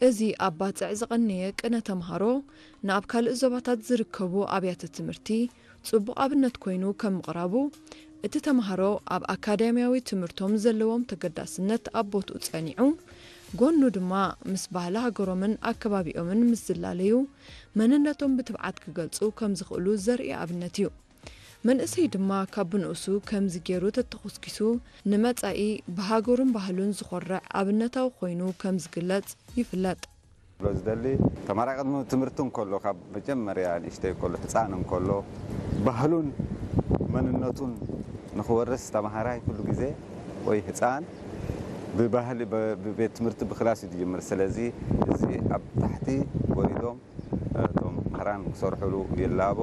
እዚ ኣብ ባጽዕ ዝቐነየ ቅነ ተምሃሮ ንኣብ ካልእ ዞባታት ዝርከቡ ኣብያተ ትምህርቲ ጽቡቕ ኣብነት ኮይኑ ከም ምቕራቡ፣ እቲ ተምሃሮ ኣብ ኣካዳሚያዊ ትምህርቶም ዘለዎም ተገዳስነት ኣብ ቦትኡ ጸኒዑ፣ ጎኑ ድማ ምስ ባህሊ ሃገሮምን ኣከባቢኦምን ምስ ዝላለዩ፣ መንነቶም ብትብዓት ክገልጹ ከም ዝኽእሉ ዘርኢ ኣብነት እዩ። መንእሰይ ድማ ካብ ብንኡሱ ከምዚ ገይሩ ተተኾስኪሱ ንመጻኢ ብሃገሩን ባህሉን ዝኾርዕ ኣብነታዊ ኮይኑ ከም ዝግለጽ ይፍለጥ። ዝደሊ ተማራይ ቅድሚ ትምህርቲ እንከሎ ካብ መጀመርያ ንእሽተይ ከሎ ህፃን እንከሎ ባህሉን መንነቱን ንክወርስ ተማሃራይ ኩሉ ግዜ ወይ ህፃን ብባህሊ ብቤት ትምህርቲ ብክላስ እዩ ዝጅምር። ስለዚ እዚ ኣብ ታሕቲ ወሪዶም እቶም መምህራን ክሰርሕሉ ይላቦ።